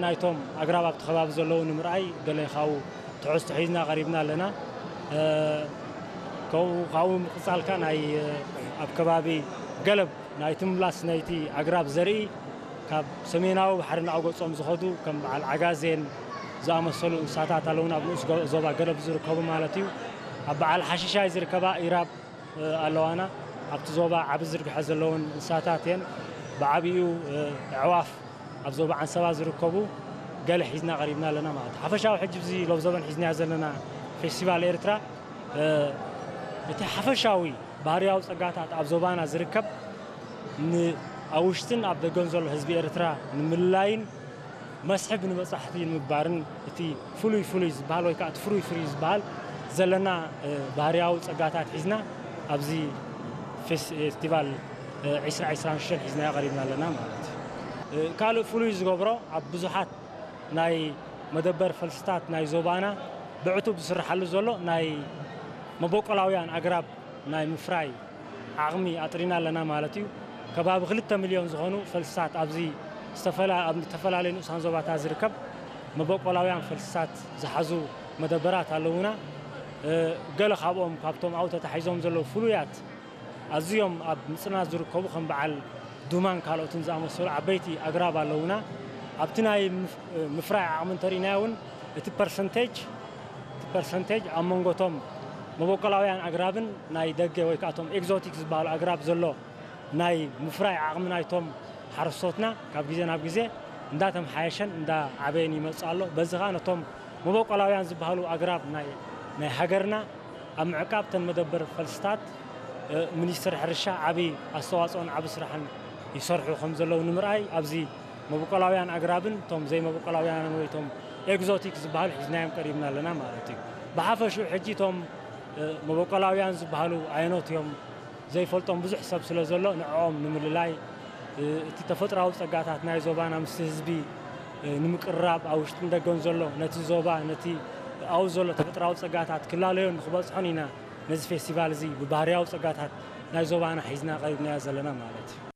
ናይቶም ኣግራብ ኣብቲ ከባቢ ዘለዉ ንምርኣይ ገለ ካብኡ ትሕዝቶ ሒዝና ቀሪብና ኣለና። እ፣ ካብኡ ካብኡ ምቕጻልካ ናይ፣ እ፣ ኣብ ከባቢ ገለብ ናይቲ ምምላስ ናይቲ ኣግራብ ዘርኢ ካብ ሰሜናዊ ባሕሪ እናቐጎጾም ዝኸዱ ከም በዓል ዓጋዜን ዝኣመሰሉ እንስሳታት ኣለዉና፣ ኣብ ንኡስ ጎ-፣ ዞባ ገለብ ዝርከቡ ማለት እዩ። ኣብ በዓል ሓሽሻይ ዝርከባ ኢራብ፣ እ፣ ኣለዋና። ኣብቲ ዞባ ዓቢ ዝርግሐ ዘለውን እንስሳታት እየን። ብዓቢኡ፣ እ፣ ኣዕዋፍ ኣብ ዞባ ዓንሰባ ዝርከቡ ገለ ሒዝና ቀሪብና ኣለና ማለት እዩ። ሓፈሻዊ ሕጂ ኣብዚ ሎብ ዘበን ሒዝናዮ ዘለና ፌስቲቫል ኤርትራ፣ እ፣ እቲ ሓፈሻዊ ባህርያዊ ጸጋታት ኣብ ዞባና ዝርከብ ን-፣ ኣብ ውሽጥን ኣብ ደገን ዘሎ ህዝቢ ኤርትራ ንምልላይን መስሕብ ንበጻሕቲ ንምግባርን እቲ ፍሉይ ፍሉይ ዝበሃል ወይ ከዓ እቲ ፍሩይ ፍሩይ ዝበሃል ዘለና፣ እ፣ ባህርያዊ ጸጋታት ሒዝና ኣብዚ ፌስ-፣ ፌስቲቫል፣ እ፣ ዕስራ ዕስራን ሽዱሽተን ሒዝናዮ ቀሪብና ኣለና ማለት እዩ። እ፣ ካልእ ፍሉይ ዝገብሮ ኣብ ብዙሓት ናይ መደበር ፈልስታት ናይ ዞባና ብዕቱብ ዝስርሓሉ ዘሎ ናይ መበቆላውያን ኣግራብ ናይ ምፍራይ ዓቕሚ ኣጥሪና ኣለና ማለት እዩ። ከባቢ ክልተ ሚልዮን ዝኾኑ ፈልስታት ኣብዚ ዝተፈላ-፣ ኣብ ዝተፈላለዩ ንኡሳን ዞባታት ዝርከብ መበቆላውያን ፈልስታት ዝሓዙ መደበራት ኣለዉና። እ፣ ገለ ካብኦም ካብቶም ኣብኡ ተታሒዞም ዘለዉ ፍሉያት ኣዝዮም ኣብ ምጽናት ዝርከቡ ከም በዓል ዱማን ካልኦትን ዝኣመሰሉ ዓበይቲ ኣግራብ ኣለዉና። ኣብቲ ናይ ምፍ-፣ ምፍራይ ዓቕሚ እንተሪእናዮ እውን እቲ ፐርሰንቴጅ፣ እቲ ፐርሰንቴጅ ኣብ መንጎ እቶም መበቆላውያን ኣግራብን ናይ ደገ ወይ ከዓ እቶም ኤግዞቲክ ዝበሃሉ ኣግራብ ዘሎ ናይ ምፍራይ ዓቕሚ ናይቶም ሓረስቶትና ካብ ግዜ ናብ ግዜ እንዳተምሓየሸን እንዳዓበየን ይመጽእ ኣሎ። በዚ ከዓ ነቶም መበቆላውያን ዝበሃሉ ኣግራብ ናይ፣ ናይ ሃገርና ኣብ ምዕቃብ እተን መደበር ፈልስታት፣ እ፣ ሚኒስትሪ ሕርሻ ዓቢ ኣስተዋጽኦን ዓቢ ስራሕን ይሰርሑ ከም ዘለዉ ንምርኣይ ኣብዚ መበቆላውያን ኣግራብን እቶም ዘይመበቆላውያን ወይ እቶም ኤግዞቲክ ዝበሃሉ ሒዝናዮም ቀሪብና ኣለና ማለት እዩ። ብሓፈሽኡ ሕጂ እቶም፣ እ፣ መበቆላውያን ዝበሃሉ ኣየኖት እዮም ዘይፈልጦም ብዙሕ ሰብ ስለ ዘሎ ንዕኦም ንምልላይ፣ እ፣ እቲ ተፈጥራዊ ጸጋታት ናይ ዞባና ምስቲ ህዝቢ፣ እ፣ ንምቅርራብ ኣብ ውሽጥን ደገን ዘሎ ነቲ ዞባ ነቲ ኣብኡ ዘሎ ተፈጥራዊ ጸጋታት ክላለዮን ንክበጽሖን ኢና ነዚ ፌስቲቫል እዚ ብባህርያዊ ጸጋታት ናይ ዞባና ሒዝና ቀሪብናዮ ዘለና ማለት እዩ።